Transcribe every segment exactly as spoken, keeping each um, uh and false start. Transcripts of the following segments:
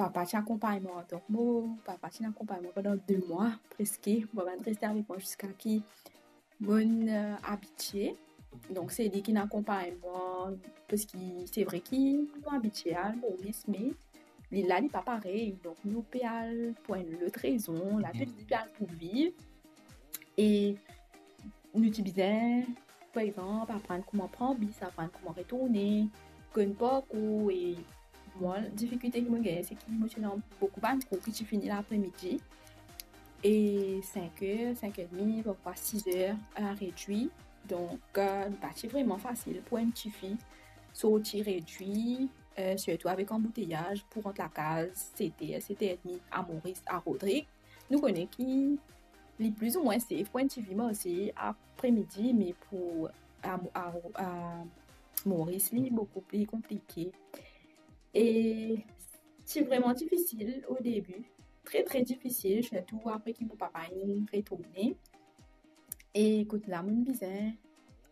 papa ti akonpagn mwa. Donk, mo papa ti akonpagn mwa pandan de mwa, preske. Mo papa ti reste avek mwa ziska ki mo'nn, euh, abitie. Donk, se li ki'nn akonpagn mwa, parski se vre ki nou abitie al Moris, me li la, li pa parey. Donk, nou pe al pou enn lot rezon, la, pe, mhm, li pe al pou viv. E nou ti bizin, par exanp, aprann kouma pran bis, aprann kouma retourne, konn parkour. E mwa, difikilte ki mo gagne, se ki mo ti ena boukou bann kour ki ti fini lapre-midi. E sink er, sink er edmi, parfwa sis er, la redwi. Donk, euh, li pa ti vreman fasil pou enn tifi sorti redwi, euh, sirtou avek anbouteyaz pou rant lakaz set er, set er edmi a Moris, a Rodrig. Nou kone ki li plizoumwin safe pou enn tifi marse apre-midi, me pou, a, a, a Moris, li boukou pli konplike. E ti vreman difisil o debi, tre, tre difisil, sirtou apre ki mo papa inn retourne. E kot la, mo'nn bizin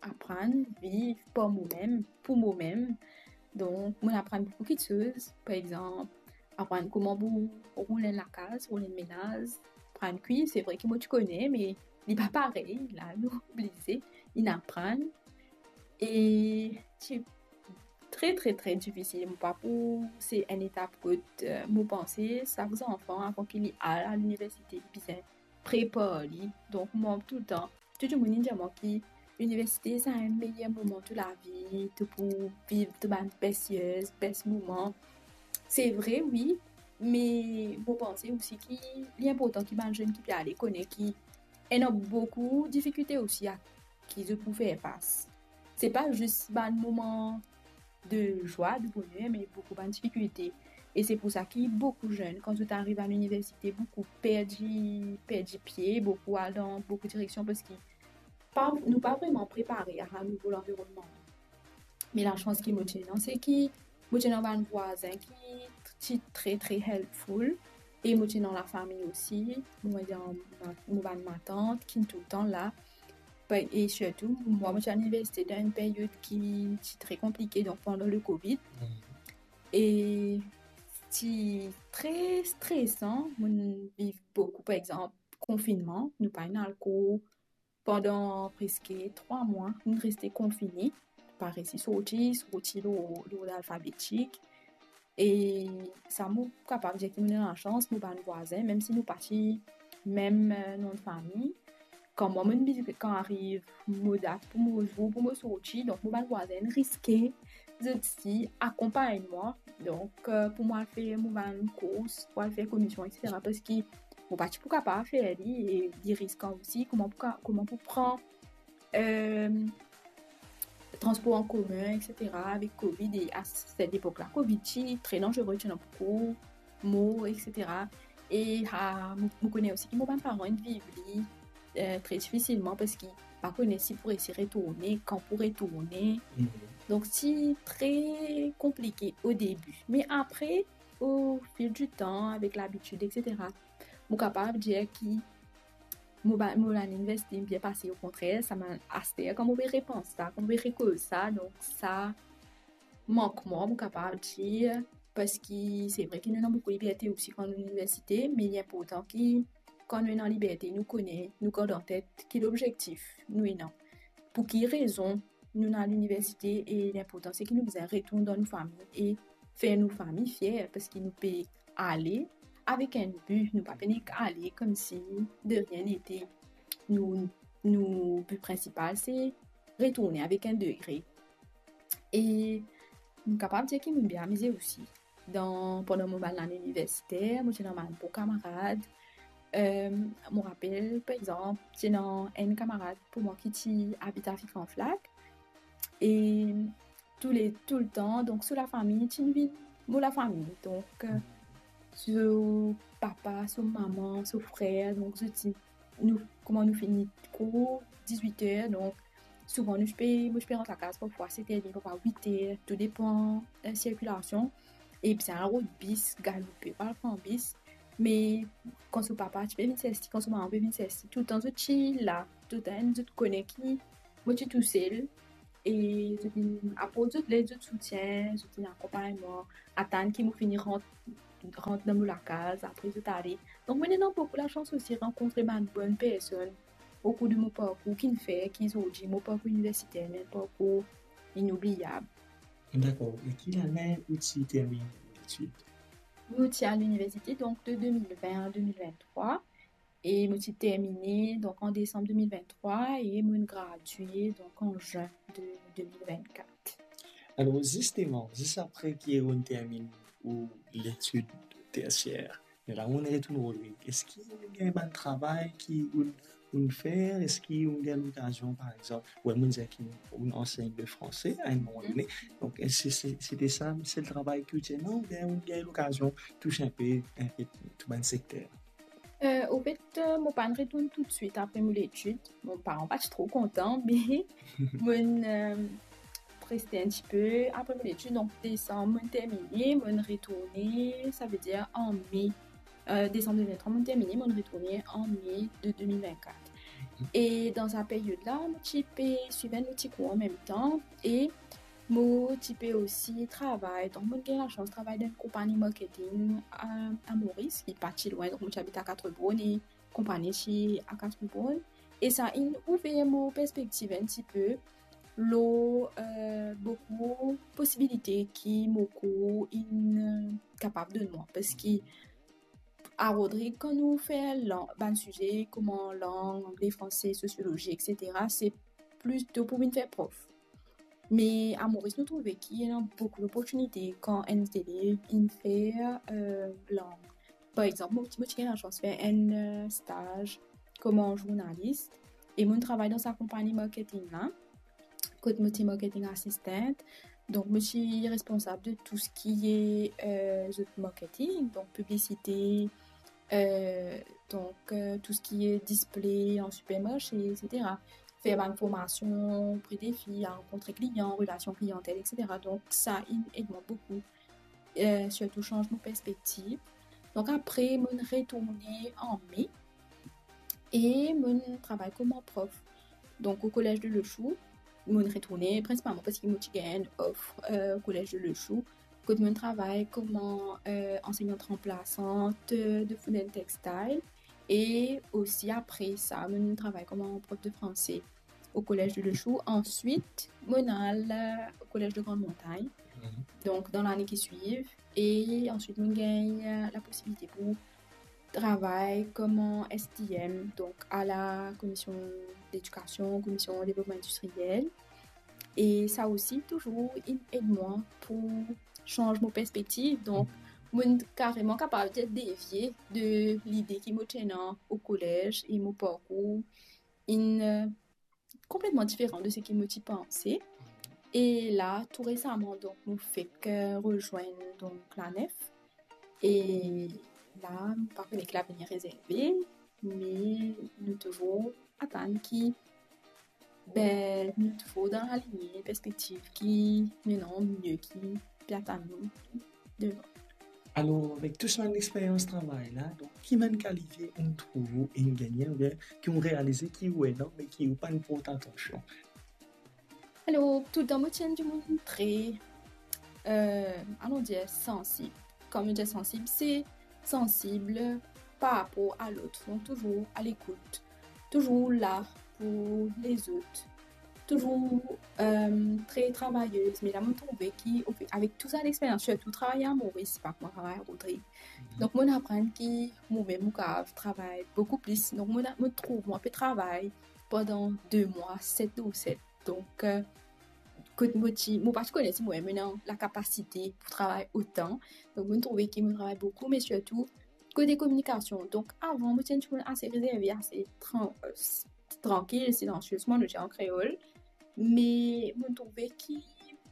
aprann viv par momem, pou momem. Donk, mo'nn aprann boukou kiksoz. Par exanp, aprann kouma pou roul enn lakaz, roul enn menaz, aprann kwi. Se vre ki mo ti kone, me li pa parey, la, nou oblize inn aprann. E ti tre, tre, tre difisil. Mo pa pou, se enn etap kot, euh, mo panse sak zanfan, avan ki li al a liniversite, li bizin prepar li. Donk, mwa, toultan, tou dimoun inn dir mwa ki liniversite, se enn meyer moman tou lavi, to pou viv to bann best years, best moman. Se vre, wi, me mo panse osi ki li inportan ki bann zenn ki pe ale kone ki ena boukou difikilte osi a ki zot pou fer fas. Se pa zis bann moman de zwa, de boner, me boukou bann difikilte. E se pou sa ki boukou zenn, kan zot ariv a liniversite, boukou perdi, perdi pie, boukou al dan boukou direksion, parski pa, nou pa vreman prepare a nouvo lanvironnman. Me lasans ki mo ti ena, se ki mo ti ena bann vwazin ki ti tre, tre helpful. E mo ti ena lafami osi, mo ena ma-, mo bann matant ki toultan la. Pa-, e sirtou, mwa, mo ti al liniversite dan enn peryod ki ti tre konplike, donk pandan le Covid. Mm. E ti tre stresan, mo'nn viv boukou, par exanp, konfinnman, nou pa inn al kour pandan preske trwa mwa, nou reste konfine, pa resi sorti, sorti lor, lord alfabetik. E sa, mo kapav dir ki mo ena lasans, mo bann vwazin, mem si nou pa ti mem, eh, nom de fami, kan mwa, mo'nn bizin, kan ariv mo dat pou mo zour pou mo sorti, donk mo bann vwazin riske zot osi akonpagn mwa. Donk, eh, pou mwa al fer mo bann kours, pou al fer komision, et cetera, parski mo pa ti pou kapav fer li, e li riskan osi, kouma pou ka-, kouma pou pran, eh, transpor an komin, et cetera, avek Covid, e a set lepok la, Covid ti tre danzere, ti ena boukou mor, et cetera. E, ah, mo, mo kone osi ki mo bann paran inn viv li, eh, tre difisilman, parski pa kone si pou resi retourne, kan pou retourne. Mhm. Donk, ti tre konplike o debi. Me apre, o fil di tan, avek labitid, et cetera, mo kapav dir ki mo ba-, mo lane liniversite bien pase, okontrer, sa mem aster, kan mo pe repans sa, kan mo pe rekoz sa, donk sa mank mwa, mo kapav dir, parski se vre ki nou ena boukou liberte osi kan nou liniversite, me li inportan ki kan nou ena liberte, nou kone, nou gard an tet ki lobzektif nou ena. Pou ki rezon nou ena liniversite, e linportan se ki nou bizin retourn dan nou fami e fer nou fami fier, parski nou pe ale avek enn bi, nou pa pe nek ale koumsi de rien n'était. Nou, nou bi prinsipal se retourne avek enn degre. E mo kapav dir ki mo bien amize osi. Dan, pandan mo bann lane iniversiter, mo ti ena bann bon kamarad. Em, mo rapel, par exanp, ti ena enn kamarad pou mwa ki ti abit Avic an Flag. E toule, toultan, donk, so lafami, ti vinn mo lafami. Donk, eh, so papa, so mama, so frer, donk, zot ti, nou, kouma nou fini kour, dizwit er, donk, souvan nou ti pe, mo ti pe rant lakaz parfwa set er edmi, parfwa wit er, tou depan, eh, sirkilasion. E bizin al rod bis, galoupe, pa al pran bis. Me kan so papa ti pe vinn sers li, kan so mama pe vinn sers li, toultan zot ti la, toultan zot kone ki mo ti tousel. E zot inn aport zot led, zot soutien, zot inn akonpagn mwa, atann ki mo fini rant rant dan mo lakaz, apre zot ale. Donk, mo ena boukou lasans osi rankontre bann bonn personn okour de mo parkour ki'nn fer ki zordi mo parkour iniversiter, me parkour inoubliab. Dakor. E ki lane ou ti terminn letid? Mo ti al liniversite, donk, de de mil vin a de mil vintrwa. E mo ti termine, donk, an desanm de mil vintrwa e mo'nn gradie, donk, an zin de de mil vintkat. Alor, zisteman, zis apre ki ou'nn terminn ou letid tersier, me la ou'nn retourn Rodrig, eski ou'nn gagn bann travay ki ou'nn, ou'nn fer? Eski ou'nn gagn lokazion, par exanp, wi, mo'nn dir ki ou'nn ansegn le franse a enn moman done. Donk, eski se, se, sete sa sel travay ki ou ti ena, oubien ou'nn gagn lokazion tous inpe, inpe tou bann sekter? Euh, anfet, euh, mo pa'nn retourn toutswit apre mo letid. Mo paran pa ti tro kontan, me mo'nn, euh, reste enn tipe apre mo letid. Donk, desanm, mo'nn termine, mo'nn retourne, savedir an me. Euh, desanm de mil vintrwa, mo'nn termine, mo'nn retourne an me de de mil vintkat. E dan sa period la, mo ti pe swiv enn lot ti kour an mem tan, e mo ti pe osi travay, donk mo'nn gagn lasans travay dan enn konpagni marketing a, a Moris, ki pa ti lwin, donk mo ti abit a Quatre-Bornes e konpagni ti a Quatre-Bornes. E sa inn ouver mo perspektiv enn tipe lor, euh, boukou posibilite ki mo kour inn, euh, kapav donn mwa, parski a Rodrig, kan nou fer lan-, bann size kouma lang, angle, franse, sosiolozi, et cetera, se plito pou vinn fer prof. Me a Moris, nou trouve ki ena boukou loportinite kan enn zelev inn fer, euh, lang. Par exanp, mo ti, mo ti gagn lasans fer enn, euh, staz kouma zournalis, e mo'nn travay dan sa konpagni marketing la, kot mo ti marketing assistant. Donk, mo ti responsab de tou seki, euh, zot marketing, donk piblisite, euh, donk, euh, tou seki display an sipermarse, et cetera. Fer bann formasion opre de fi, rankontre klian, relasion kliyantel, et cetera. Donk, sa inn ed mwa boukou, euh, sirtou sanz mo perspektiv. Donk, apre, mo'nn retourne an me e mo'nn travay kouma prof. Donk, o Collège de Le Chou, mo'nn retourne prinsipalman parski mo ti gagn enn of, euh, o Collège de Le Chou, kot mo'nn travay kouma, euh, ansegnan ranplasant, euh, de Food and Textile. E osi apre sa, mo'nn travay kouma prof de franse o Collège de Le Chou. Answit, mo'nn al, euh, o Collège de Grande Montagne. Mhm. Donk, dan lane ki swiv. E answit, mo'nn gagn, euh, laposibilite pou travay kouma S T M, donk a la Commission d'Éducation, Commission Développement Industriel. E sa osi touzour inn ed mwa pou sanz mo perspektiv. Donk, mo'nn kareman kapav dir devie de lide ki mo ti ena o kolez e mo parkour inn, euh, konpletman diferan de seki mo ti panse. E la, tou resaman, donk, mo fek, euh, rezwenn, donk, la nef. E la, mo pa kone ki lavenir rezerve, me nou touzour atann ki, be, nou touzour dan lalinie perspektiv ki, you know, mie ki pe atann nou devan. Alor, avek tou sa bann lexperyans travay la, donk, ki bann kalite ou trouv ou inn gagne, oubien ki ou realize ki ou ena, me ki ou pa'nn port atansion? Alor, toultan mo ti enn dimoun tre, euh, alon dir, sansib. Kan mo dir sansib, se sansib par rapor a lot. Donk, touzour a lekout, touzour la pou lezot, touzour, euh, tre travayez. Me la, mo trouve ki, ofe-, avek tou sa lexperyans, sirtou travay a Moris, pa kouma travay a Rodrig. Mhm. Donk, mo'nn aprann ki momem mo kapav travay boukou plis. Donk, mo'nn, mo trouv mwa pe travay pandan de mwa, set lor set. Donk, euh, kot mo ti, mo pa ti kone si mo mem ena lakapasite pou travay otan. Donk, mo'nn trouve ki mo travay boukou, me sirtou kote kominikasion. Donk, avan, mo ti enn dimoun ase rezerve, ase tran-, euh, s-, trankil, silansie, kouma nou dir an kreol. Me mo'nn trouve ki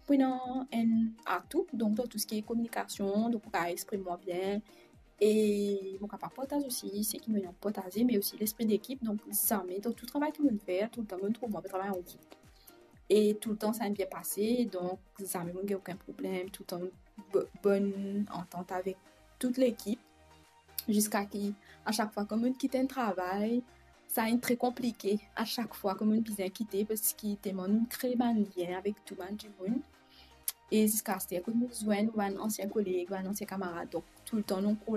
mo ena enn atou, donk, dan tou seki kominikasion, donk, mo kapav exprim mwa bien, e mo kapav partaz osi seki mo ena pou partaze, me osi lespri dekip. Donk, zame, dan tou travay ki mo'nn fer, toultan mo'nn trouv mwa pe travay an group. E toultan sa inn bien pase, donk, zame mo'nn gagn okenn problem, toultan bo-, bonn antant avek tou lekip, ziska ki, a sak fwa, kan mo'nn kit enn travay, sa inn tre konplike a sak fwa kan mo'nn bizin kite, parski telman nou kre bann lien avek tou bann dimoun. E ziska aster, kot nou zwenn bann ansien koleg, bann ansien kamarad, donk toultan nou